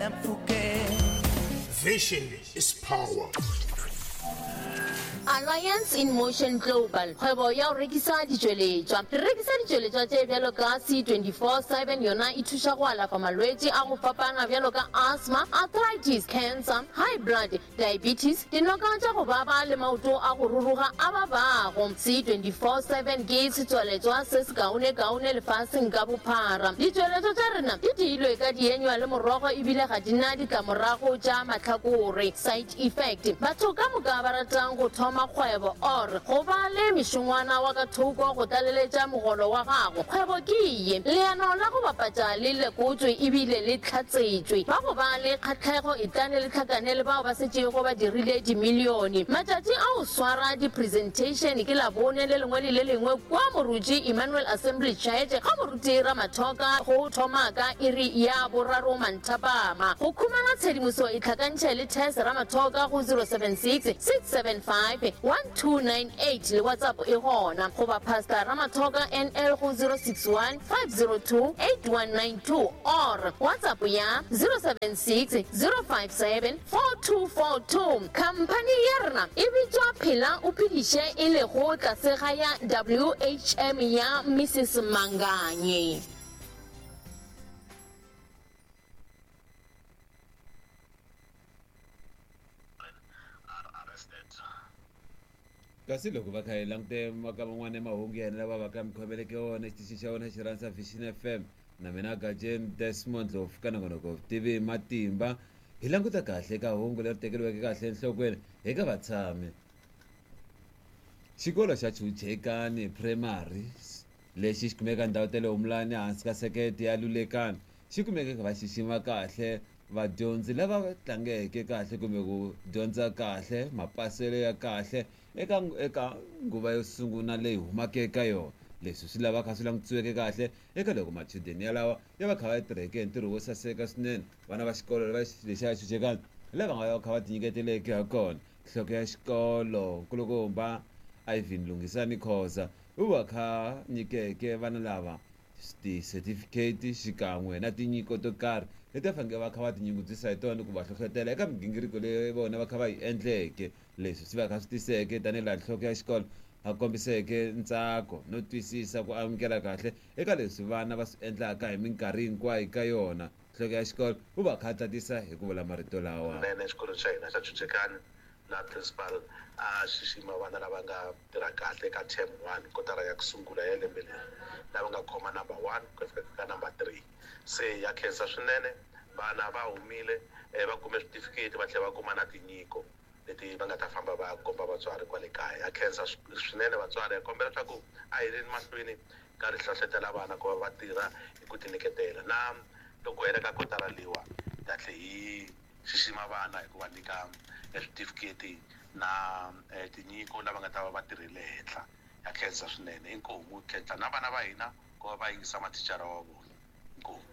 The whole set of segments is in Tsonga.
ya mpfhukeng. Vision is power. Alliance in Motion Global, kgwebo ya go rekisa ditšweletšwa. Re rekisa ditšweletšwa tše bjalo ka C24/7, yona e thuša go alafa malwetši a go fapana bjalo ka asthma, arthritis, cancer, high blood, diabetes, dinoka tša go baba le maoto a go ruruga a babago. C24/7 ke setswaletšwa se sekaonekaone lefaseng ka bophara. Ditšweletšwa tša rena di diilwe ka dienywa le morogo ebile ga di na ditlamorago tša mahlakore, side effect. Batho ka moka ba ratang go thoma kgwebo or go ba le mešongwana wa ka thoko go tlaleletša mogolo wa gago, kgwebo ke ye. Leano la go bapatša le lekotšwe ebile le hlatsetšwe. Ba go ba le kgahlego etlane le hlakane le bao ba setšego ba dirile dimilione. Matšatši a go swara di-presentation ke Labone le lengwe le le lengwe kua Moruti Emmanuel Assembly Church ga Moruti Ramathoka go thoma ka iri ya boraro manthapama. Go khumana tshedimoso itlhakantšhe le Tess Ramathoka go 076 675 1298 le WhatsApp e gona, goba Pastor Ramathoka NL go 061 502 8192 or WhatsApp ya 076 057 4242. Khamphani ya rena e bitšwa Phela o Phediše e lego tlase ga ya WHM ya Mrs Manganye. Kasi loko va kha hi langute ka man'wana ya mahungu ya hina lava va ka mi khomeleke wona xitichi xa wena xi rhandza Vision FM na mina Gajeni Desmond Ndlovu ka nongonoko vutivi hi matimba hi languta kahle ka hungu leri tekeriweke kahle enhlokweni eka vatshami. Xikolo xa Chuchekani Primary lexi xi kumeka ndhawu ta le Humulani ehansi ka sekete ya Lulekani xi kumeke va xixima kahle Vadyondzi lava tlangeke kahle kumbe ku dyondza kahle, mapaselo ya kahle eka eka nguva yo sunguna leyi humaka eka yona. Leswi swi lava kha swi langutisiweke kahle eka loko machudeni yalawa ya va kha va tirheke hi ntirho wo saseka swinene. Vana va xikolo lava lexiya xuxekani lava nga va kha va tinyiketeleke ha kona. Nhloko ya xikolo Nkulukumba Ivan Lunghisani Khoza u va kha nyikeke vana lava tisetifikheti xikan'we na tinyiko to karhi leti va faneleke va kha va tinyungubyisa hi tona ku va hlohlotela eka migingiriko leyi vona va kha va yi endleke. Leswi swi va kha swi tiseke tanihi laha nhloko ya xikolo a kombiseke ntsako no twisisa ku amukela kahle eka leswi vana va swi endlaka hi minkarhi hinkwayo ka yona. Nhloko ya xikolo u va kha a tatisa hi ku vula marito lawa. Kunene exikolweni xa hina xa Chuchekani laha principal a xixima vana lava nga tirha kahle eka term one, kotara ya ku sungula ya lembe leri, lava nga khoma number one ku ya fika ka number three. Se ha khensa swinene, vana va humile va kume switifiketi va tlhela va kuma na tinyiko leti va nga ta famba va ya komba vatswari kwale kaya. Ha khensa swinene vatswari, ha kombela leswaku a hi yeni mahlweni ka ri hlohletela vana ku va va tirha hi ku tinyiketela. Na loko ku hela ka kotara leyiwa hi ta tlhe hi xixima vana hi ku va nyika switifiketi na tinyiko lava nga ta va va tirhile henhla. Ha khensa swinene. Inkomu. Hi khensa na vana va hina ku va va yingisa mathicara wa vona. Inkomu.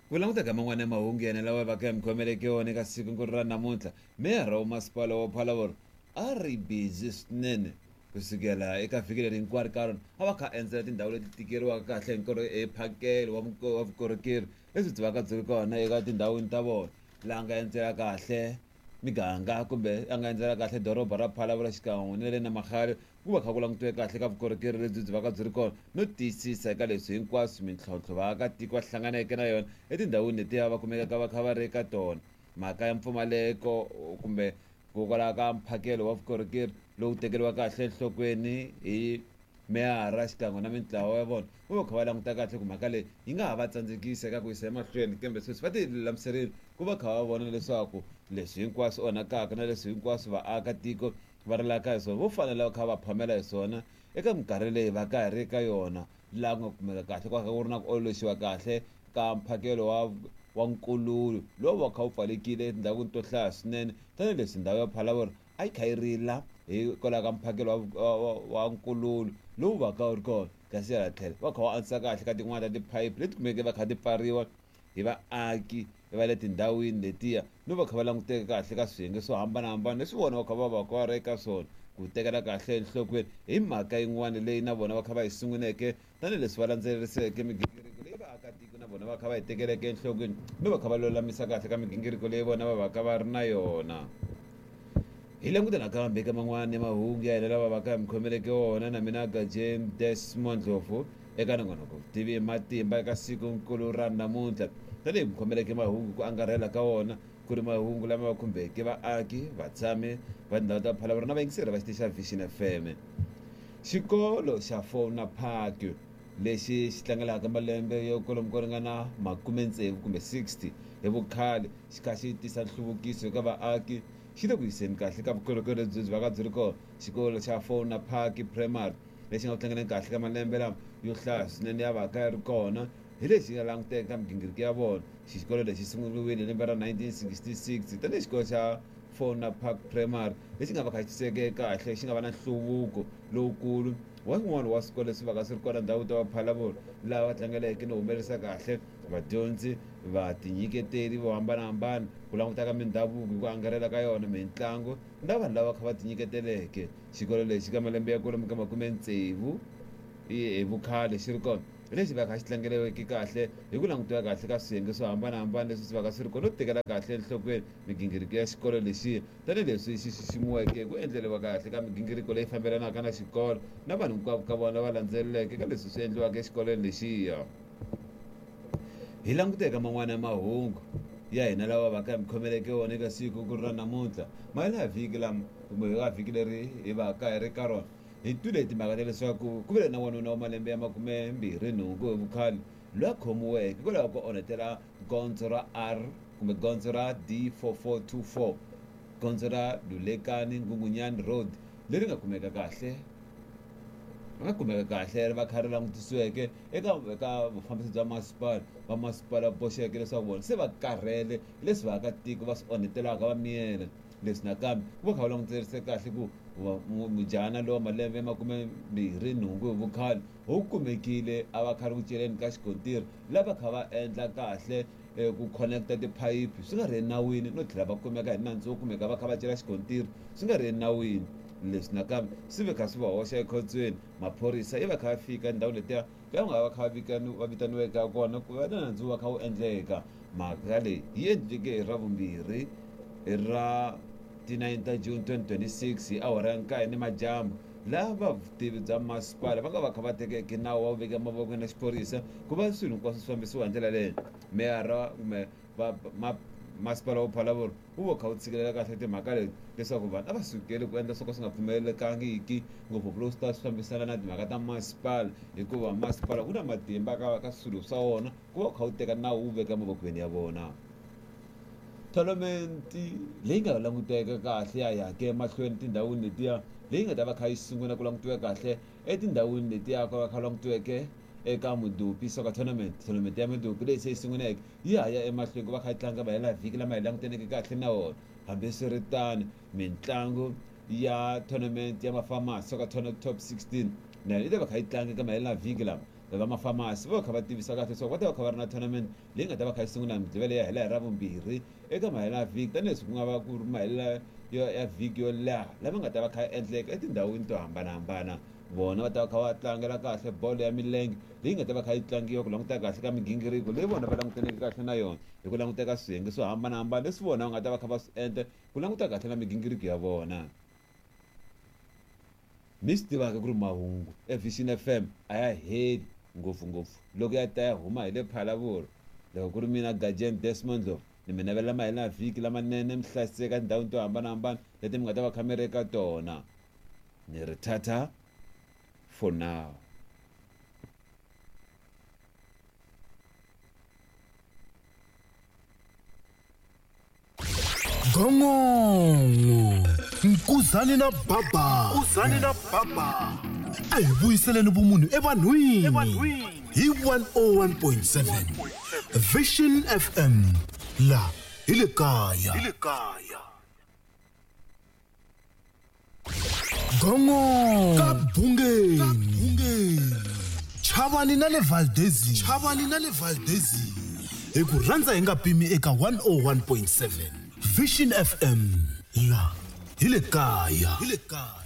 Ku languta ka man'wana ya mahungu yana lawa va ka mi khomeleke wona eka siku-nkulu ra namuntlha, meyara wa masipala wa Phalaborwa a ri bizi swinene ku sukela eka vhiki leri hinkwaro ka rona a va kha a endzela tindhawu leti tikeriwaka kahle hi mphakelo wa vukorhokeri lebyi byi vaka byi ri kona eka tindhawini ta vona. Laha a nga endzela kahle miganga kumbe a nga endzela kahle doroba ra Phalaborwa xikan'we na le Namahadi ku va kha ku langutiwe kahle ka vukorhokeri lebyi byi vaka byi ri kona no tiyisisa eka leswi hinkwaswo mintlhontlho vaakatiko va hlanganeke na yona etindhawini letiya va kumekaka va kha va ri eka tona. Mhaka ya mpfumaleko kumbe hikokwalaho ka mphakelo wa vukorhokeri lowu tekeriwa kahle enhlokweni hi meyara xikan'we na mintlawa ya vona va va kha va languta kahle ku mhaka leyi yi nga ha va tsandzekisa eka ku yisa emahlweni kambe sweswi va ti lulamiserile ku va kha va vona leswaku leswi hinkwaswo onhakaka na leswi hinkwaswo vaakatiko va rilaka hi swona vo fanele va kha va phamela hi swona eka minkarhi leyi va ka hi ri ka yona laha ku nga kumeka kahle ku ku ri na ku ololoxiwa kahle ka mphakelo wa nkululo lowu va kha wu pfalekile etindhawini to hlaya swinene tanihileswi ndhawu ya Phalaborwa a yi kha yi rila hikwalaho ka mphakelo wa nkululo lowu va ka wu ri kona kasi hala tlhelo va kha va antswisa kahle ka tin'wana ta tiphayiphi leti kumeke va kha ti pfariwa hi vaaki va le tindhawini letiya no va kha va languteka kahle ka swiyenge swo hambanahambana leswi vona va kha va va va ri eka swona ku tekela kahle enhlokweni hi mhaka yin'wana leyi na vona va kha va yi sunguneke tanihileswi va landzeleriseke migingiriko leyi. Vaakatiko na vona va kha va yi tekeleke enhlokweni no va kha va lulamisa kahle ka migingiriko leyi vona va va ka va ri na yona. Hi languta nakambe eka man'wana ya mahungu ya hina lava va ka mi khomeleke wona na mina Gajeni Desmond Ndlovu eka nongonoko Vutivi hi Matimba eka siku nkulu ra namuntlha. Tanihi mi khomeleke mahungu ku angarhela ka wona ku ri mahungu lama va khumbeke vaaki, vatshami va tindhawu ta Phalaborwa na vayingiseri va xitichi xa Vision FM. Xikolo xa Fauna Park lexi xi tlangelaka malembe yo kwalomu ko ringana makume-tsevu kumbe 60 hi vukhale xi kha xi tisa nhluvukiso eka vaaki xi le ku yiseni kahle ka vukorhokeri lebyi byi vaka byi ri kona. Xikolo xa Fauna Park Primary lexi nga ku tlangeleni kahle ka malembe lama yo hlaya swinene ya vaka ya ri kona hi lexi nga languteka ka migingiriko ya vona. Xikolo lexi sunguriwile hi lembe ra 1966 tanihi xikolo xa Fauna Park Primary lexi nga va kha xi tiseke kahle xi nga va na nhluvuko lowukulu wa swin'wana wa swikolo leswi vaka swi ri kona ndhawu ta Vaphalabolo lava va tlangeleke no humelerisa kahle vadyondzi vatinyiketeri vo hambanahambana ku languta ka mindhavuko hi ku angarhela ka yona mitlangu na vanhu lava kha va tinyiketeleke. Xikolo lexi ka malembe ya kwalomu ka makume-tsevu hi vukhale xi ri kona hi lexi vaka xi tlangeriweke kahle hi ku langutiwa kahle ka swiyenge swo hambanahambana leswi swi vaka swi ri kona no tekela kahle enhlokweni migingiriko ya xikolo lexiya tanihileswi xi xiximiweke ku endleriwa kahle ka migingiriko leyi fambelanaka na xikolo na vanhu hinkwavo ka vona lava landzeleleke ka leswi swi endliwaka exikolweni lexiya. Hi languta eka man'wana ya mahungu ya hina lawa va ka mi khomeleke wona eka siku ku ri ra namuntlha mahela ya vhiki lama kumbe ka vhiki leri hi va ka hi ri ka rona hi twile timhaka ta leswaku ku vile na wanuna wa malembe ya 28 hi vukhale loyi a khomiweke hikwalaho ko onhetela gondzo ra R kumbe gondzo ra D4424 gondzo ra Lulekani Ngungunyani Road leri nga kumeka kahle va nga kumeka kahle ri va kha ri langutisiweke eka eka vufambisi bya masipala va masipala boxeke leswaku vona se va karhele leswi vaakatiko va swi onhetelaka va miyela. Leswi nakambe ku va kha va languterise kahle ku mujahana lowa malembe ya 28 hi vukhale u kumekile a va kha ri ku celeni ka xikontiri lava kha va endla kahle ku connecta tiphayiphi swi nga ri enawini no tlhela va kumeka hi nandzu wo kumeka va kha va cela xikontiri swi nga ri enawini. Leswi nakambe swi ve kha swi va hoxa ekhotsweni. Maphorisa yi va kha va fika endhawini letiya la nga va kha va vitaniweke kona ku va na nandzu va kha wu endleka. Mhaka leyi yi endleke hi Ravumbirhi ra ti-9 ta June 2026 hi awara ya 9 nimadyambu laha vutivi bya masipala va nga va kha va tekeke nawu wa ku veka mavokweni ya xiphorisa ku va swilo hinkwaswo swi fambisiwa hi ndlela leyi. Meyara kumbe masipala wa Phalaborwa wu va kha wu tshikelela kahle timhaka leti leswaku vanhu a va sukeli ku endla swo ka swi nga pfumelelekangiki ngopfungopfu loko swi ta swi fambisana na timhaka ta masipala hikuva masipala wu na matimba ka ka swilo swa wona ku va wu kha wu teka nawu wu veka mavokweni ya vona. Tournament leyi nga languteka kahle ya yake emahlweni tindhawini letiya leyi nga ta va kha yi sungula ku langutiwa kahle etindhawini letiya ku va kha langutiweke eka Mudupi Soccer Tournament. Tournament ya Mudupi leyi se yi sunguleke yi ha ya emahlweni ku va kha yi tlanga mahela vhiki lama hi langutaneke kahle na wona. Hambiswiritano mitlangu ya tournament ya Mafamasi Soccer Tournament Top 16 na yona yi ta va kha yi tlanga eka mahela vhiki lama. Va Mafamasi va kha va tivisa kahle leswaku va ta va kha va ri na tournament leyi nga ta va kha yi sungula Mugqivela ya hela hi Ravumbirhi eka mahela vhiki tanihileswi ku nga va ku ri mahela ya vhiki yo leha lama nga ta va kha yi endleka etindhawini to hambanahambana. Vona va ta va kha va tlangela kahle bolo ya milenge leyi nga ta va kha yi tlangiwa ku languta kahle ka migingiriko leyi vona va langutaneke kahle na yona hi ku languta ka swiyenge swo hambanahambana leswi vona va nga ta va kha va swi endla ku languta kahle na migingiriko ya vona. Mi swi tivaka ku ri mahungu eVision FM a ya heli ngopfungopfu loko ya ta ya huma hi le Phalaborwa. Loko ku ri mina Gajeni Desmond Ndlovu ni mi navelela mahela vhiki lamanene mi hlayiseka tindhawini to hambanahambana leti mi nga ta va kha mi ri eka tona. Ni ri tata for now. Gongongo Nkuzani na Baba Nkuzani na Baba a hi vuyiseleni vumunhu evanhwini hi 101.7 Vision FM la hi le kaya hi le kaya Gongongo ka Bungeni Chavani na le Valdezini Chavani na le Valdezini hi ku rhandza hi nga pimi eka 101.7 Vision FM la hi le kaya hi le kaya.